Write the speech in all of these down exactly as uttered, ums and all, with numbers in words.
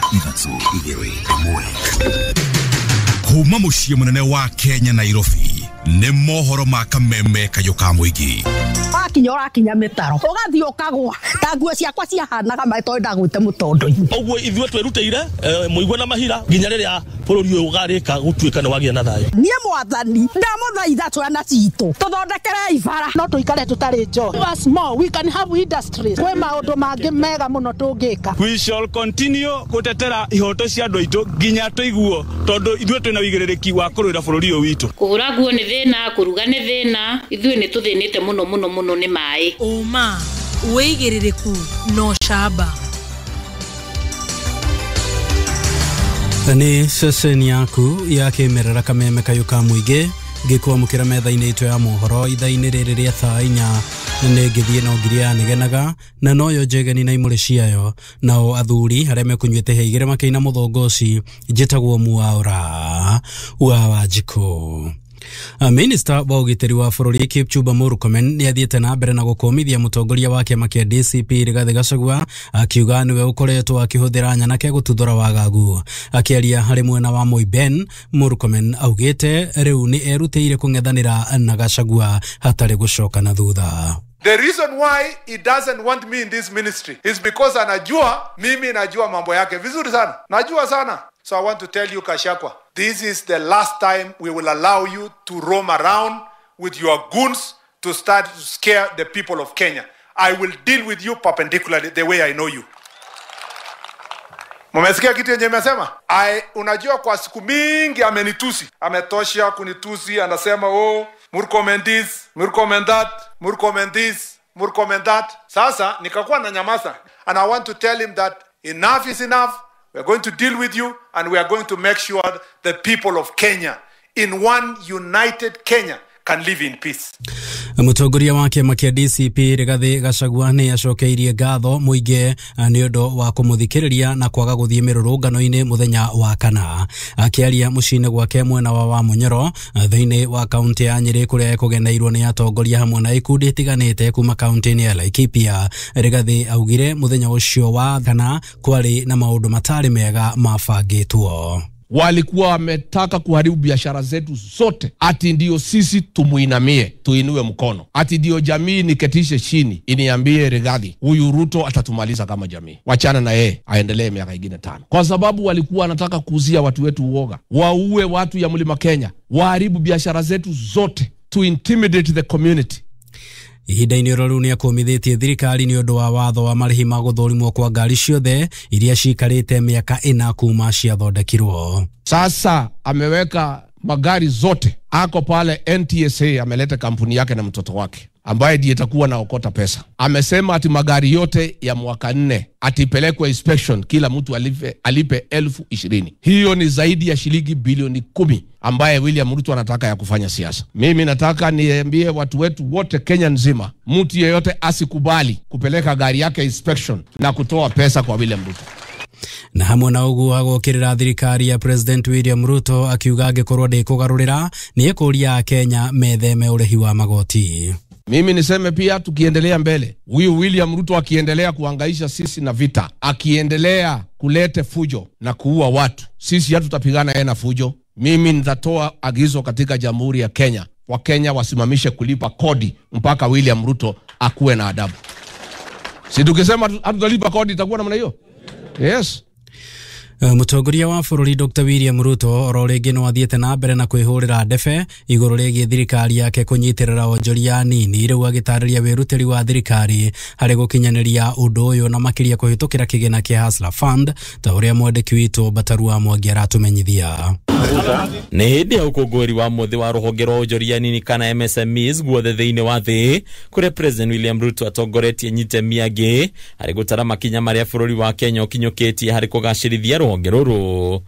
Ithatũ, igĩrĩ, ĩmwe. Kuma mũciĩ mũnene wa Kenya Nairobi nĩ mohoro ma kameme kayũ ka mũingĩ. Wakinya ũrakinya mĩtaro ũgathiĩ ũkagwa ta nguo ciakwa ciahanaga maĩ tondũ ndagwĩte mũtondo-inĩ. Ũguo ithuĩ twĩrutĩire mũigua na mahira nginya rĩrĩa bũrũri ũyũ ũgarĩka gũtuĩka nĩ wagĩa na thayũ. Niĩ mwathani ndamũthaitha twana citũ tũthondekerei bara no tũikare tũtarĩ njohi. Us more we can have industries. Kwĩ maũndũ mangĩ mega mũno tũngĩka. We shall continue gũtetera ihoto cia andũ aitũ nginya tũiguo tondũ ithuĩ twĩna wĩigĩrĩrĩki wa kũrũĩra bũrũri ũyũ witũ. Kũhũra nguo nĩ thĩna, kũruga nĩ thĩna, ithuĩ nĩ tũthĩnĩte mũno mũno mũno nĩ maĩ. Ũma, wĩigĩrĩrĩku no camba. Nĩ ceceni yaku ya kĩmerera kameme kayũ ka mũingĩ ngĩkwamũkĩra metha-inĩ itũ ya mohoro ithaa-inĩ rĩrĩ rĩa thaa inya nĩ ngĩthiĩ no ngiri ya nĩgenaga na noyo njegeni na imũrĩ ciayo nao athuri arĩa mekũnyuĩte he igĩrĩ makĩina mũthongoci njĩtagwo Mwaura wa Wanjikũ. Minista wa ũgitĩri wa bũrũri Kipchumba Murkomen nĩ athiĩte na mbere na gũkũmithia mũtongoria wa kĩama kĩa D C P Rigathĩ Gachagua akiuga nĩwe ũkoretwo akĩhũthĩra nyanake gũtuthũra wagagu. Akĩaria harĩ mwena wa Moiben, Murkomen augĩte rĩu nĩ erutĩire kũng'ethanĩra na Gachagua hatarĩ gũcoka na thutha. The reason why he doesn't want me in this ministry is because anajua mimi najua mambo yake vizuri sana. Najua sana. So I want to tell you, Gachagua, this is the last time we will allow you to roam around with your goons to start to scare the people of Kenya. I will deal with you perpendicularly the way I know you. Mumesikia kitu yenye nimesema? I unajua kwa siku mingi amenitusi. Ametosha kunitusi, anasema oh, Murkomen this, Murkomen that, Murkomen this, Murkomen that. Sasa nikakuwa na nyamaza. And I want to tell him that enough is enough. We are going to deal with you and we are going to make sure the people of Kenya in one united Kenya can live in peace. Mũtongoria wa kĩama kĩa D C P Rigathĩ Gachagua nĩ acokeirie ngatho mũingĩ nĩ ũndũ wa kũmũthikĩrĩria na kwaga gũthiĩ mĩrũrũngano-inĩ mũthenya wa kana. Akĩaria mũciĩ-inĩ gwake mwena wa Wamunyoro thĩinĩ wa kaunti ya Nyĩrĩ kũrĩa ekũgeneirwo nĩ atongoria hamwe na ikundi itiganĩte kuma kaunti-inĩ ya Laikipia, Rigathĩ augire mũthenya ũcio wa kana kwarĩ na maũndũ matarĩ mega mabangĩtwo. Walikuwa wametaka kuharibu biashara zetu zote, ati ndio sisi tumuinamie, tuinue mkono, ati ndio jamii niketishe chini iniambie Rigathi huyu Ruto atatumaliza kama jamii, wachana na yeye aendelee miaka ingine tano. Kwa sababu walikuwa wanataka kuuzia watu wetu uoga, waue watu ya mlima Kenya, waharibu biashara zetu zote, to intimidate the community. Ihinda-inĩ oro rĩu nĩakũmithĩtie thirikari nĩ ũndũ wa watho wa marĩhi ma gũthũrimwo kwa ngari ciothe iria ciikarĩte mĩaka ĩna kuma ciathondekirwo. Sasa ameweka magari zote, ako pale N T S A, ameleta kampuni yake na mtoto wake ambaye ndiye itakuwa na okota pesa. Amesema ati magari yote ya mwaka nne atipelekwe inspection, kila mtu alipe, alipe elfu ishirini. Hiyo ni zaidi ya shilingi bilioni kumi ambaye William Ruto anataka ya kufanya siasa. Mimi nataka niambie watu wetu wote Kenya nzima, mtu yeyote asikubali kupeleka gari yake inspection na kutoa pesa kwa William Ruto. Na hamwe na ũguo agokĩrĩra thirikari ya President William Ruto akiuga angĩkorwo ndĩkũgarũrĩra nĩ ekũria Kenya metheme ũrĩhi wa magoti. Mimi niseme pia tukiendelea mbele, huyu William Ruto akiendelea kuhangaisha sisi na vita, akiendelea kulete fujo na kuua watu, sisi hatutapigana yeye na fujo. Mimi nitatoa agizo katika Jamhuri ya Kenya, Wakenya wasimamishe kulipa kodi mpaka William Ruto akuwe na adabu. Si tukisema hatutalipa kodi itakuwa namna hiyo? Yes. Mũtongoria wa bũrũri Doctor William Ruto oro rĩngĩ no athiĩte na mbere na kwĩhũrĩra ndebe igũrũ rĩgiĩ thirikari yake kũnyitĩrĩra onjoria nini, rĩu agĩtarĩria wĩrutĩri wa thirikari harĩ gũkinyanĩria ũndũ ũyũ na makĩria kũhĩtũkĩra kĩgĩna kĩa Hustler Fund ta ũrĩa mwandĩki witũ Bataru wa Mwangi aratumenyithia. Nĩ hĩndĩ ya ũkũngũĩri wa mũthĩ wa rũhonge rwa onjoria nini kana M S M Es guothe thĩinĩ wa thĩ kũrĩa President William Ruto atongoretie nyitemi angĩ harĩ gũtara makinya marĩa bũrũri wa Kenya ũkinyũkĩtie harĩ kũgacĩrithia rũhonge rũrũ.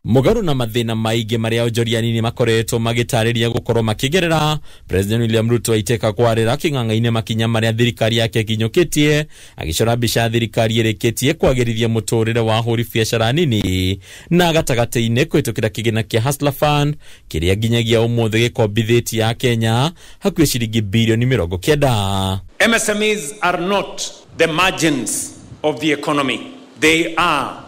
Mũgarũ na mathĩna maingĩ marĩa onjoria nini makoretwo magĩtarĩria gũkorwo makĩgerera, President William Ruto aitĩka kwarĩra kĩng'ang'a-inĩ makinya marĩa thirikari yake ĩkinyũkĩtie, agĩcora mbica ya thirikari ĩrĩkĩtie kwagĩrithia mũtũrĩre wa ahũri biacara nini na gatagatĩ-inĩ kũhĩtũkĩra kĩgĩna kĩa Hustler Fund kĩrĩa nginyagia ũmũthĩ gĩkombithĩtie a Kenya hakuhĩ ciringi bilioni mĩrongo kenda. M S M Es are not the margins of the economy. They are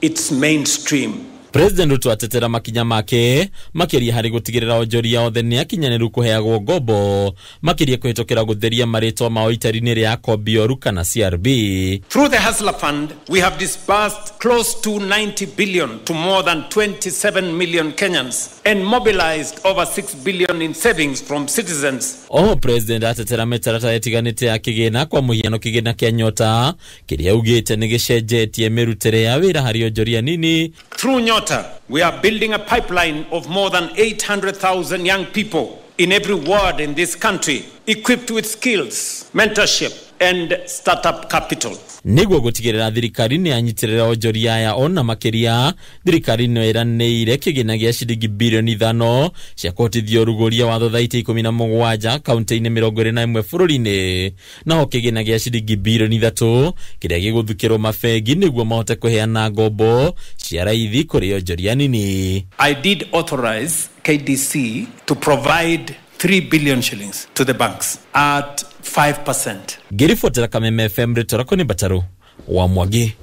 its mainstream. President Ruto atetera makinya make makiria hari gutigirira onjoria othe ni akinyanĩru kuheagwo ngombo makiria kuhitũkĩra gutheria marĩtwa mao itari-inĩ rĩa Kobioru kana C R B. Through the Hustler Fund, we have disbursed close to ninety billion to more than twenty-seven million Kenyans and mobilized over six billion in savings from citizens. Oho President atetera mĩtaratara ĩtiganĩte ya kĩgĩna kwa mũhiano kĩgĩna kĩa Nyota kĩrĩa augĩte nĩ gĩcenjetie mĩrutĩre ya wĩra harĩ onjoria nini. Through Nyota, we are building a pipeline of more than eight hundred thousand young people in every ward in this country, equipped with skills, mentorship, and startup capital. Nĩguo gũtigĩrĩra thirikari nĩ yanyitirĩra onjoria aya ona makĩria, thirikari no ĩranĩire kĩgĩna gĩa ciringi bilioni ithano cia kũhotithia ũrugũria wa thothaitĩ ikũmi na mũgwanja kaunti-inĩ mĩrongo ĩrĩ na ĩmwe bũrũri-inĩ, naho kĩgĩna gĩa ciringi bilioni ithatũ kĩrĩa gĩgũthukĩrwo mabengi nĩguo mahote kũheana ngombo cia raithi kũrĩ onjoria nini. I did authorize K D C to provide three billion shillings to the banks at five percent. Ngĩribotera Kameme F M rĩtwa nĩ Bataru wa Mwangi.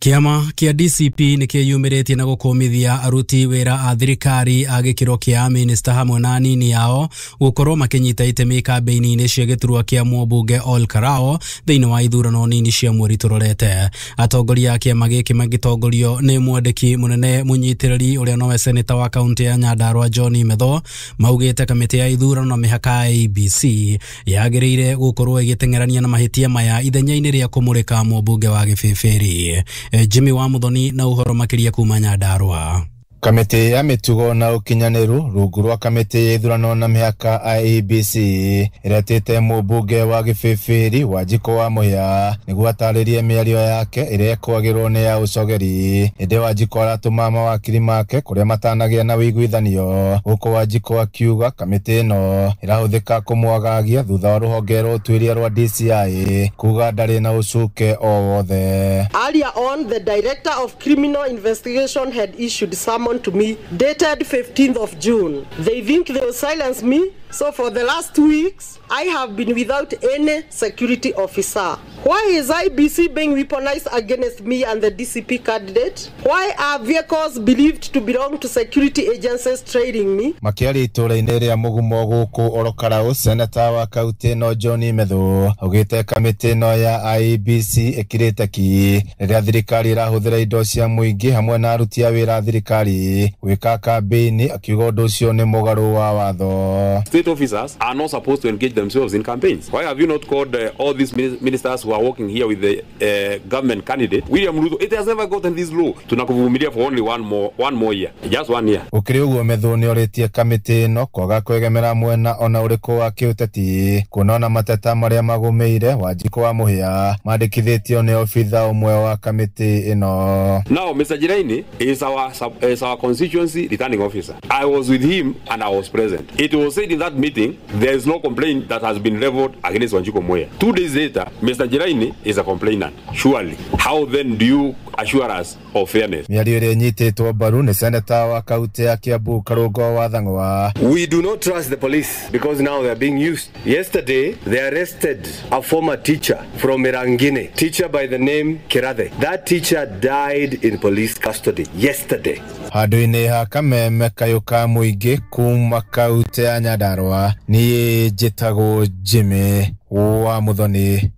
Kĩama kĩa D C P nĩ kĩyumĩrĩtie na gũkũmithia aruti wĩra a thirikari a gĩkĩro kĩa minista hamwe na anini ao gũkorwo makĩnyita itemi kambĩini-inĩ cia gĩturwa kĩa mũmbunge Ol Kalou thĩinĩ wa ithurano nini cia mweri tũrorete. Atongoria a kĩama gĩkĩ magĩtongorio nĩ mwandĩki mũnene mũnyitĩrĩri ũrĩa nowe seneta wa kaunti ya Nyandarua John Metho maugĩte kamĩtĩ ya ithurano na mĩhaka ya A B C yagĩrĩire gũkorwo ĩgĩteng'erania na mahĩtia maya ithenya-inĩ rĩa kũmũrĩka mũmbunge wa Gĩbĩbĩri. Jimmy wa Muthoni na uhoro makiria kuma Nyandarua. Kamĩtĩ ya mĩtugo na ũkinyanĩru rungu rwa kamĩtĩ ya ithurano na mĩhaka I E B C ĩretĩte mũmbunge wa Gĩbĩbĩri Wanjikũ wa Mũhĩa nĩguo atarĩrie mĩario yake ĩrĩa ĩkwagĩrwo nĩ ya ũcogeri. Ĩndĩ Wanjikũ aratũma mawakiri make kũrĩa matanagĩa na ũiguithanio, gũkũ Wanjikũ akiuga kamĩtĩ ĩno ĩrahũthĩka kũmwagagia thutha wa rũhonge rwa ũtuĩria rwa D C I kuga ndarĩ na ũcuke o wothe. Earlier on, the Director of Criminal Investigation had issued summons to me dated fifteenth of June. They think they will silence me, so for the last two weeks I have been without any security officer. Why is I B C being weaponized against me and the D C P candidate? Why are vehicles believed to belong to security agencies trailing me? Makĩaria itũũra-inĩ rĩa Mũgumo gũkũ Ol Kalou, seneta wa kaunti ĩno John Methu augĩte kamĩtĩ ĩno ya I E B C ĩkirĩte ki rĩrĩa thirikari ĩrahũthĩra indo cia mũingĩ hamwe na aruti a wĩra a thirikari gwĩka kambĩini, akiuga ũndũ ũcio nĩ mũgarũ wa watho. State officers are not supposed to engage themselves in campaigns. Why have you not called uh, all these ministers who are working here with the uh, government candidate William Ruto? It has never gotten this low. Tunakuvumilia for only one more one more year, just one year. Gũkĩrĩ ũguo Methu nĩorĩtie kamĩtĩ ĩno kwaga kwegemera mwena ona ũrĩkũ wa kĩũteti, kuona ona mateta marĩa magũmĩire Wanjikũ wa Mũhĩa mandĩkithĩtio nĩ obitha ũmwe wa kamĩtĩ ĩno. Now Mister Jiraini is our is our constituency returning officer. I was with him and I was present. It was said in that meeting there is no complaint that has been leveled against Wanjiko Muhia. Two days later, Mister Jiraini is a complainant. Surely, how then do you assure us of fairness? Mĩario ĩrĩa ĩnyitĩtwo mbaru nĩ seneta wa kaunti ya Kiambu Karũngo wa Thang'wa. We do not trust the police because now they are being used. Yesterday, they arrested a former teacher from Mirangine, teacher by the name Kirathe. That teacher died in police custody yesterday. Handũ-inĩ ha Kameme kayũ ka mũingĩ kuma kaunti ya Nyandarua, niĩ njĩtagwo Jimmy wa Muthoni.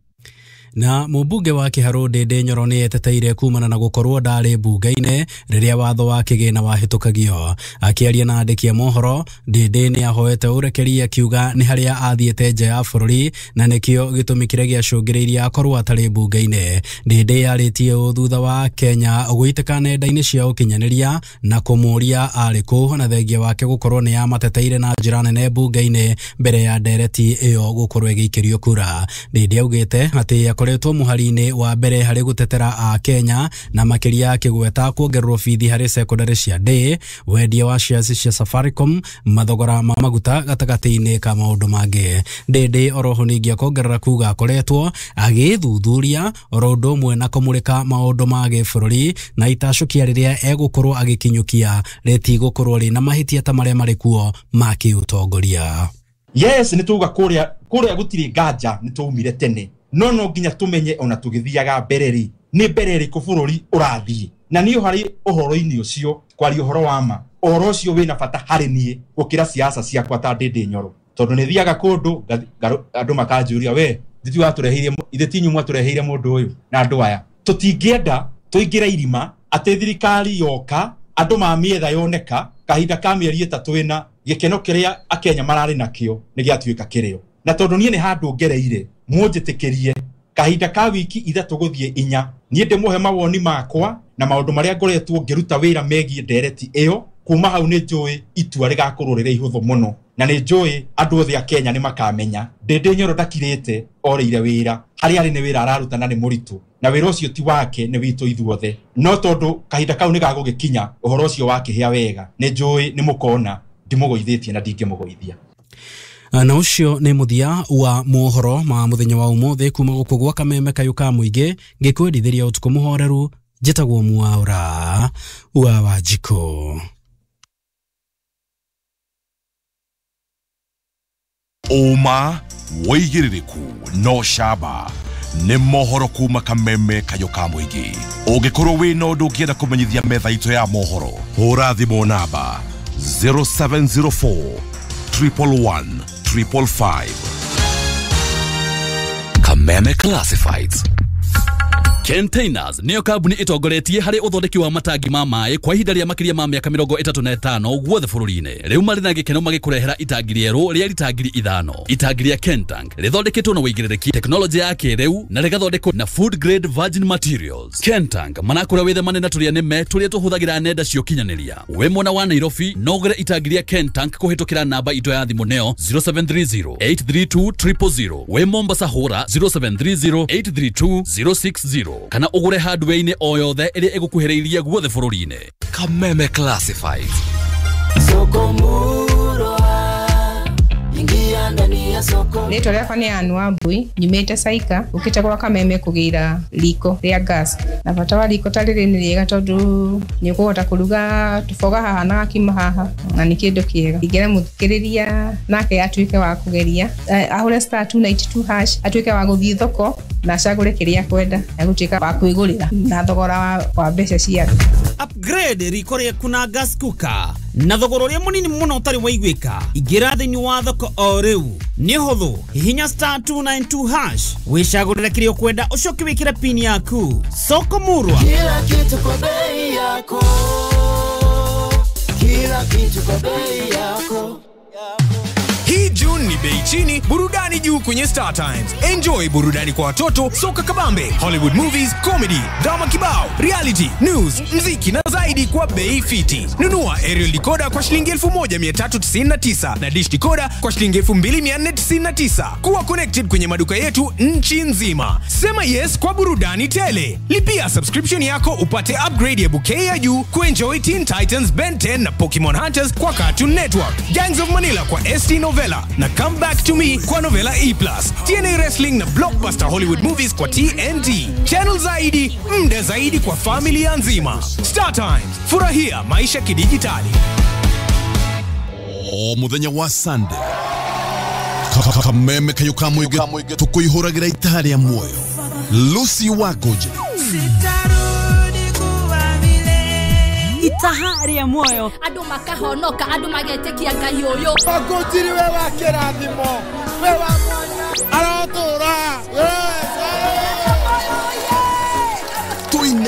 Na mũmbunge wa Kĩharũ Ndĩndĩ Nyoro nĩ eteteire kumana na gũkorwo ndarĩ mbunge-inĩ rĩrĩa watho wa kĩgĩna wahĩtũkagio. Akĩaria na andĩki a mohoro, Ndĩndĩ nĩ ahoete ũrekeri akiuga nĩ harĩa athiĩte nja ya bũrũri na nĩkĩo gĩtũmi kĩrĩa gĩacũngĩrĩirie akorwo atarĩ mbunge-inĩ. Ndĩndĩ yarĩtie ũũ thutha wa Kenya gũitĩka nenda-inĩ cia ũkinyanĩria na kũmũũria arĩ kũ na thengia wake gũkorwo nĩ amateteire na njĩra nene mbunge-inĩ mbere ya ndereti ĩyo gũkorwo ĩgĩikĩrio kura. Ndĩndĩ augĩte atĩ akoretwo mũhari-inĩ wa mbere harĩ gũtetera a Kenya na makĩria akĩgweta kuongererwo bithi harĩ sekondari cia day, wendia wa shares cia Safaricom, mathogora ma maguta gatagatĩ-inĩ ka maũndũ mangĩ. Ndĩndĩ oroho ningĩ akongerera kuga akoretwo agĩthuthuria oro ũndũ ũmwe na kũmũrĩka maũndũ ma gĩbũrũri na itacũkia rĩrĩa egũkorwo agĩkinyũkia rĩtigũkorwo rĩna mahĩtia ta marĩa marĩ kuo ma kĩũtongoria. Yes, nĩ tuga kũrĩa kũrĩa gũtirĩ nganja nĩ twaumire tene No no nginya tumenye ona tugithiaga mbere ri ni mbere ri bũrũri ũrathiĩ. Na niĩ harĩ ũhoro-inĩ ũcio kwaria ũhoro wa ma, ũhoro ũcio wĩna bata harĩ niĩ gũkĩra siasa ciakwa ta Ndĩndĩ Nyoro, tondũ nĩ thiaga kũndũ andũ makanjũria, we ithuĩ watũreheire, ithuĩ ti inyuĩ mwatũreheire mũndũ ũyũ na andũ aya. Tũtingĩenda tũingĩre irima atĩ thirikari yoka andũ mamĩetha yoneka kahinda ka mĩeri ĩtatũ ĩna gĩkeno kĩrĩa akenya mararĩ nakĩo nĩ gĩatuĩka kĩrĩo. Na tondũ niĩ nĩ handũ ngereire, mũnjĩtĩkĩrie kahinda ka wiki ithatũ gũthiĩ inya niĩ ndĩmũhe mawoni makwa na maũndũ marĩa ngoretwo ngĩruta wĩra megiĩ ndereti ĩyo. Kuma hau nĩ njũĩ itua rĩgakorwo rĩrĩ ihũthũ mũno, na nĩ njũĩ andũ othe a Kenya nĩ makamenya Ndĩndĩ Nyoro ndakirĩte orĩire wĩra harĩa arĩ, nĩ wĩra araruta na nĩ mũritũ, na wĩra ũcio ti wake, nĩ witũ ithuothe. No tondũ kahinda kau nĩ gagũgĩkinya ũhoro ũcio wakĩhĩa wega, nĩ njũĩ nĩ mũkona ndimũgũithĩtie na ndingĩmũgũithia. Na ucio nĩ mũthia wa mohoro ma mũthenya wa ũmũthĩ kuma gũkũ gwa Kameme Kayũ ka Mũingĩ, ngĩkwendithĩria ũtukũ mũhoreru. Njĩtagwo Mwaura wa Wanjikũ. Ũma wĩigĩrĩrĩku no camba nĩ mohoro kuma Kameme Kayũ ka Mũingĩ. Ũngĩkorwo wĩna ũndũ ũngĩenda kũmenyithia metha itũ ya mohoro, hũra thimũ namba zero seven zero four triple one triple five. Kameme Classifieds. Containers niyo kambuni itongoretie harĩ ũthondeki wa matangi ma maĩ kwa ihinda rĩa makĩria ma mĩaka mĩrongo ĩtatũ na ĩtano guothe bũrũri-inĩ. Rĩu marĩ na gĩkeno magĩkũrehera itangi rĩerũ rĩa rita ngiri ithano. Itangi rĩa Kentank rĩthondeketwo na ũigĩrĩrĩki, tekinoronjĩ ya kĩrĩu na rĩgathondekwo na food grade virgin materials. Kentank manakũra wĩthemane na tũrĩa nĩme tũrĩa tũhũthagĩra nenda cia ũkinyanĩria. Wĩ mwena wa Nairobi no ũgũre itangi rĩa Kentank kũhĩtũkĩra namba itũ ya thimũ nĩyo zero seven three zero eight three two triple zero. Wĩ Mombasa hũra zero seven three zero eight three two zero six zero kana ũgũre hardware-inĩ o yothe ĩrĩa ĩgũkuhĩrĩirie guothe bũrũri-inĩ. Kameme Classifieds. Soko murwa, ingia ndani ya soko. Rĩtwa rĩakwa nĩ Ann Wambui, nyumĩte Saika, ũkĩte gwa Kameme kũgĩra riko rĩa gas. Na bata wa riko ta rĩrĩ nĩ rĩega tondũ nĩ ũkũhota kũruga tũboga haha na gakima haha, na nĩ kĩndũ kĩega. Ingĩra mũthikĩrĩria nake atuĩke wa kũgeria, ahũre star two ninety two hash, atuĩke wa gũthiĩ thoko na acagũre kĩrĩa akwenda, agũtuĩka wa kwĩgũrĩra na thogora wa mbeca cia thĩ. Upgrade riko rĩaku na gas cooker na thogora ũrĩa mũnini mũno ũtarĩ waiguĩka. Ingĩra thĩinĩ wa thoko o rĩu nĩ hũthũ, hihinya star two nine two hash wĩcagũrĩre kĩrĩa ũkwenda ũcoke wĩkĩre pin yaku. Soko murwa, kila kitu kwa bei yako, kila kitu kwa bei yako. Hii June ni bei chini, burudani juu kwenye Star Times. Enjoy burudani kwa watoto, soka kabambe, Hollywood movies, comedy, drama kibao, reality, news, mziki na zaidi kwa bei fiti. Nunua aerial decoder kwa shilingi elfu moja mia tatu tisini na tisa na dish decoder kwa shilingi elfu mbili mia nne tisini na tisa. Kuwa connected kwenye maduka yetu nchi nzima. Sema yes kwa burudani tele. Lipia subscription yako upate upgrade ya bouquet ya juu kuenjoy Teen Titans, Ben ten na Pokemon Hunters kwa Cartoon Network, Gangs of Manila kwa S T Novella na Come Back to Me kwa Novella E plus, T N A Wrestling na Blockbuster Hollywood Movies kwa T N T. Channel zaidi, mda zaidi kwa familia nzima. Star Times, furahia maisha kidijitali. O muthenya wa Sunday, Kameme Kayũ ka Mũingĩ tũkũihũragĩra itaha rĩa muoyo. Lucy Wagoje itaha rĩa muoyo, andũ makahonoka, andũ magetĩkia Ngai ũyũ. Wangũnjiri we wa kĩrathimo, we wa mwanya, arotũra.